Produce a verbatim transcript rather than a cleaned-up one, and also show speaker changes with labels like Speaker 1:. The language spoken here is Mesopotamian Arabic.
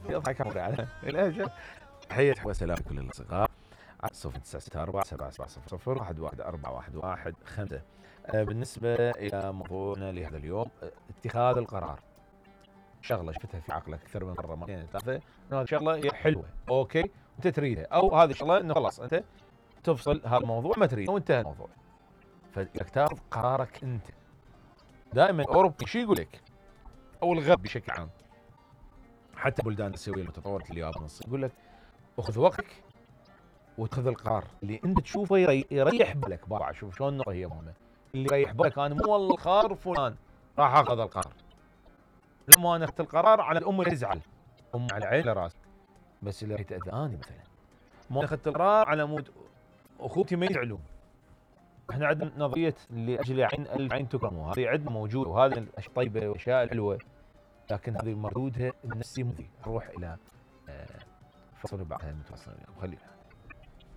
Speaker 1: يضحك عمري على الاجل. تحية وسلام لكل الاصدقاء على صفر تسعة ستة أربعة سبعة سبعة صفر صفر واحد واحد أربعة واحد واحد خمسة. بالنسبة إلى موضوعنا لهذا اليوم، اتخاذ القرار. شغلة شفتها في عقلك أكثر من مرة مرتين ثلاثة، إنه هذه شغلة هي حلوة، أوكي، أنت تريدها، أو هذه شغلة إنه خلاص أنت تفصل هذا الموضوع ما تريده وانتهى الموضوع. فإنك تاخذ قرارك أنت. دائما الأوروبي شو يقول لك؟ أو الغرب بشكل عام، حتى بلدان الآسيوية المتطورة اليابان والصين، يقول لك أخذ وقتك واتخذ القرار اللي انت تشوفه يريح بالك. بابا شوف شلون النقطه هي مهمه، اللي يريح بالك. انا مو والله القرار فلان راح اخذ القرار، لما انا اخذت القرار على الام اللي تزعل، ام على عين راسك، بس اللي راح تاذاني مثلا. ما اخذت القرار على مود اخوتي ما يزعلون. احنا عندنا نظريه لاجل عين الف عين تكرم، هذه عندنا موجوده، وهذه الاشياء الطيبه والاشياء الحلوه، لكن هذه مردودها النفسي مؤذي. نروح الى فصل بعدها متواصلين. خلينا